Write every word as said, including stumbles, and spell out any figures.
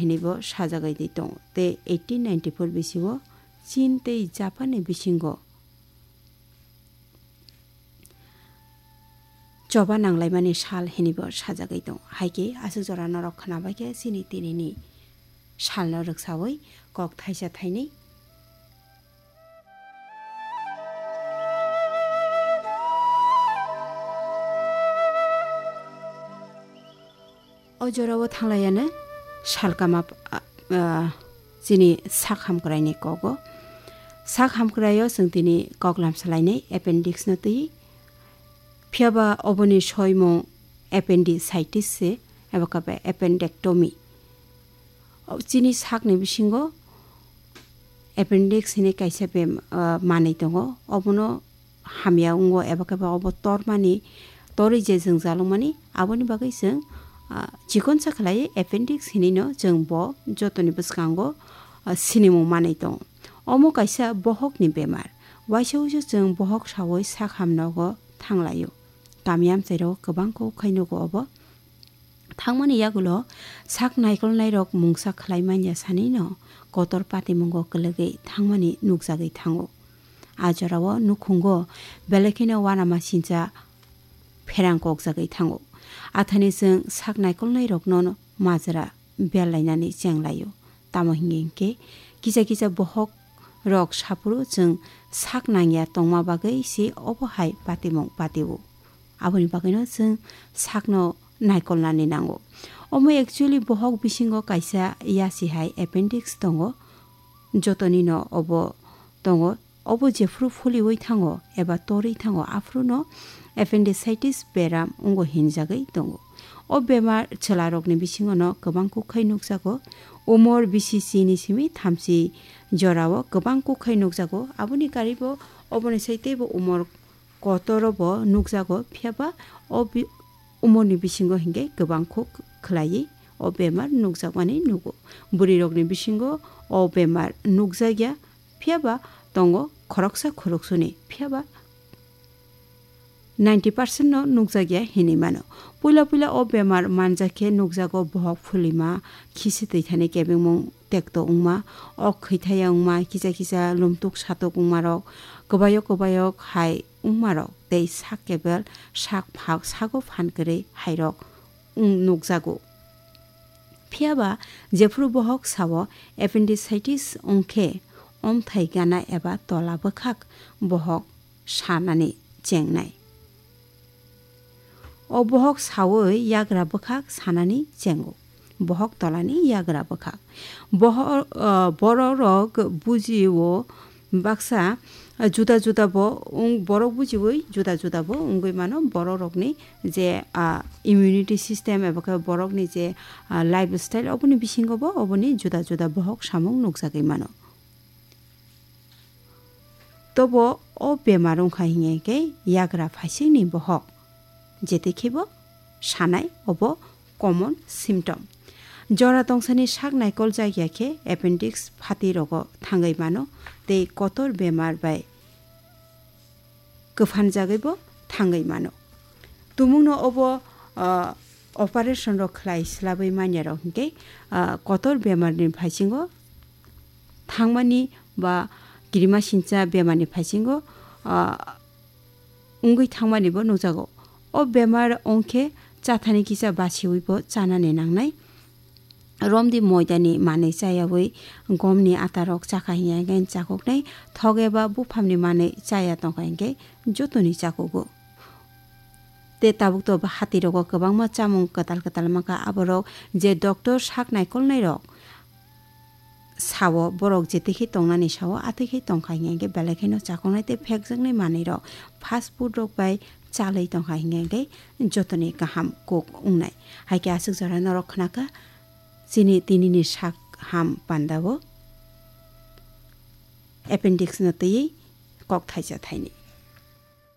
hinwi bo sajagwi twi tongo. Tei eighteen ninety-four bisio Chin tei Japan ni bisingo choba nanglaimani sal hinwi bo sajagwi tongo. Hai khe aswk jora norok khwnabai khe chini tinini salno rwksawi kok thaisa thainwi. O jorao thanglaiano salkama, ah, chini sak hamkraini kogo. Sak hamkraio chwng tini koklam salainai appendix no twi. Phiya ba oboni soimung appendicitis se, eba khe appendectomy. O chini sakni bisingo appendix hinwi kaisa bem-, ah, manwi tongo. Obono hamya wngo eba khe ba obo tormani, torwi je jwngjalwkmani, aboni bagwi chwng, ah, chikonsa khlaiwi appendix hinwino chwng bo jotoni bwskango, ah, sinimung manwi tongo. Omo kaisa bohokni bemar. Waisa waisa chwng bohok sawi sak hamnogo thanglaio. Kami amchairok kwbang kok khai nugo obo. Thangmani yagulo sak naikolnairok mungsa khlai manya sanino kotor patimungo kwlwgwi thangmani nukjagwi thango. A jorao nukhungo belai kheno uanama sincha pherang kokjagwi thango. Athani chwng sak naikolnairokno majra berlainani chenglaio. Tamo hingkhe kisa kisa bohok rok saphuru chwng sak nangya tongma bagwi se obo hai patimung patio. Aboni bagwino chwng sakno naikolnani nango. Omo actually bohok bisingo kaisa yasi hai appendix tongo. Jotonino obo tongo. Obo jephuru fuliwi thango eba torwi thango, aphuruno appendicitis beram wngo hinjagwi tongo. O bemar chwlarokni bisingono kwbang kuk khai nukjago. Umor bisi chini simi thamchi jorao kwbang kuk khai nukjago. Aboni karibo oboni sai teibo umor kotoro bo nukjago, phiya ba o bi-, umorni bisingo hinkhe kwbang kuk khlaiwi o bemar nukjakmani nugo. Bwrwirokni bisingo o bemar nukjakya, phiya ba tongo khoroksa khoroksuni, phiya ba ninety percent no nukjakya hinwi mano. Puila puila o bemar manjak khe nukjago bohok phulima, khisi twi thani kebengmung tekto wngma, ok khwithaya wngma, kisa kisa lumtuk satuk wngmarok, kwbayok kwbayok hai wngmarok tei sak kebel sak phak sago phan kwrwi hairok wng nukjago. Phiya ba jephuru bohok sao appendicitis wng khe omthai gana eba tola bwkhak bohok sanani chengnai. O bohok sawi yagra bwkhak sanani chengo. Bohok tolani yagra bwkhak. Boho-, ah, bororok bujio baksa, ah, juda juda bo wng-, borok bujiwi juda juda bo wngwi mano. Bororokni je, ah, immunity system eba khe borokni je, ah, lifestyle oboni bisingo bo oboni juda juda bohok samung nukjagwi mano. Tobo o bemar wngkha hinkhe yagra phaisingni bohok, jetekhe bo sanai obo common symptom. Jora tongsani sak naikol jakya khe appendix phati rogo thangwi mano tei kotor bemar bai kwphanjagwi bo thangwi mano. Tumungno obo, ah, operation rok khlai swlabwi manya rok hinkhe, ah, kotor bemar ni phaisingo thangmani ba kirima sincha bemar ni phaisingo, ah, wngwi thangmani bo nukjago. O bemar wngkhe chathani kisa basiwi bo chanani nangnai. Romdi moidani manwi chayawi gomni atarok chakha hinkhe chakuknai, thok eba buphamni manwi chaya tongkha hinkhe jotoni chakugo. Tei tabuk to hatirogo kwbangma chamung kwtal kwtal mankha, aborok je doctor sak naikolnairok sao, borok jetekhe tongnani sao, atekhe tongkha hinkhe belai kheno chakuknai tei phekjaknai manwirok fast food rok bai chalwi tongkha hinkhe jotoni kaham kok wngnai. Hai khe aswk jora norok khnakha. Chini tinini sak ham pandao appendix no twiwi kok thaisa thaini.